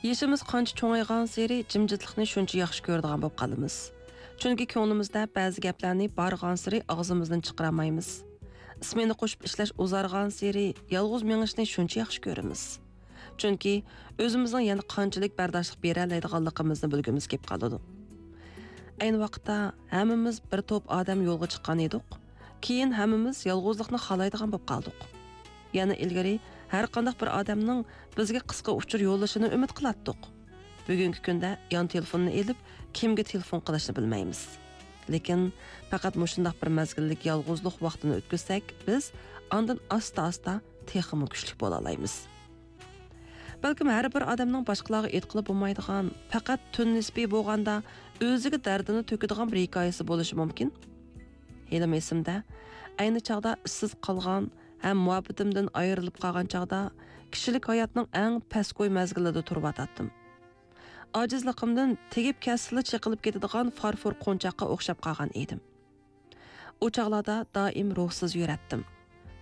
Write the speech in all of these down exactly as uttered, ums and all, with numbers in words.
يېشىمىز قانچە چوڭايغانسېرى جىمجىتلىقنى شۇنچە ياخشى كۆرىدىغان بولۇپ قالىمىز. چۈنكى كۆڭلىمىزدە بەزى گەپلەرنى بارغانسېرى ئاغزىمىزدىن چىقىرالمايمىز. ئىسمېنا قوشۇپ ئىشلەش ئۇزارغانسېرى يالغۇز مېڭىشنى شۇنچە ياخشى كۆرىمىز. چۈنكى ئۆزىمىزنىڭ يەنە قانچىلىك بەرداشلىق بېرەلەيدىغانلىقىمىزنى بىلگۈمىز كېلىپ قالىدۇ. ئەينى ۋاقىتتا ھەممىمىز بىر توپ ئادەم يولغا چىققان ئىدۇق. كېيىن ھەممىمىز يالغۇزلۇقنى خالايدىغان بولۇپ قالدۇق. يەنە ئىلگىرى ھەر قانداق بىر ئادەمنىڭ بىزگە قىسقا ئۇچۇر يوللىشىنى ئۈمىد قىلاتتۇق. بۈگۈنكى كۈندە يان تېلېفوننى ئېلىپ، كىمگە تېلېفون قىلىشنى بىلمەيمىز. لېكىن پەقەت مۇشۇنداق بىر مەزگىللىك يالغۇزلۇق ۋاقتىنى ئۆتكۈزسەك، بىز ئاندىن ئاستا-ئاستا تېخىمۇ كۈچلۈك بولالايمىز. بەلكىم ھەر بىر ئادەمنىڭ باشقىلارغا ئېيتقىلى بولمايدىغان، پەقەت تۈن نىسپى بولغاندا ئۆزىگە دەردىنى تۆكىدىغان بىر ھېكايىسى بولۇشى مۇمكىن. ھېلىمۇ ئېسىمدە، ئەينى چاغدا ئىشسىز قالغان ھەم مۇھەببىتىمدىن ئايرىلىپ قالغان چاغدا، كىشىلىك ھاياتنىڭ ئەڭ پەسكوي مەزگىلىدە تۇرۇۋاتاتتىم. ئاجىزلىقىمدىن تېگىپ كەتسىلا چېقىلىپ كېتىدىغان فارفور قونچاققا ئوخشاپ قالغان ئىدىم. ئۇ چاغلاردا دائىم روھسىز يۈرەتتىم.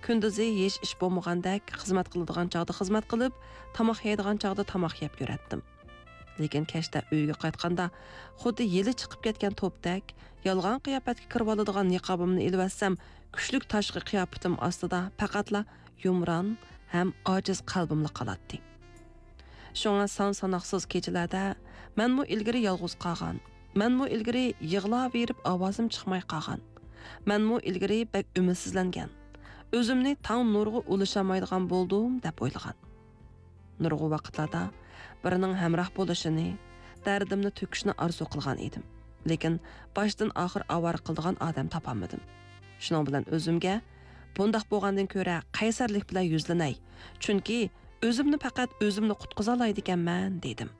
كۈندۈزى ھېچ ئىش بولمىغاندەك، خىزمەت قىلىدىغان چاغدا خىزمەت قىلىپ، تاماق يەيدىغان چاغدا تاماق يەپ يۈرەتتىم. لېكىن كەچتە ئۆيگە قايتقاندا، خۇددى يىلى چىقىپ كەتكەن توپتەك، يالغان قىياپەتكە كىرىۋالىدىغان نىقابىمنى ئېلىۋەتسەم، كۈچلۈك تاشقى قىياپىتىم ئاستىدا پەقەتلا يۇمران ھەم ئاجىز قەلبىملا قالاتتى. شۇڭا سان-ساناقسىز كېچىلەردە مەنمۇ ئىلگىرى يالغۇز قالغان، مەنمۇ ئىلگىرى يىغلاۋېرىپ ئاۋازىم چىقماي قالغان، مەنمۇ ئىلگىرى بەك ئۈمىدسىزلەنگەن، ئۆزۈمنى تاڭ نۇرىغا ئۇلىشالمايدىغان بولدۇم دەپ ئويلىغان. نۇرغۇن ۋاقىتلاردا بىرىنىڭ ھەمراھ بولۇشىنى، دەردىمنى تۆكۈشىنى ئارزۇ قىلغان ئىدىم. لېكىن باشتىن ئاخىر ئاۋارە قىلىدىغان ئادەم تاپالمىدىم. شۇنىڭ بىلەن ئۆزۈمگە، بۇنداق بولغاندىن كۆرە قەيسەرلىك بىلەن يۈزلىنەي، چۈنكى ئۆزۈمنى پەقەت ئۆزۈملا قۇتقۇزالايدىكەنمەن، دېدىم.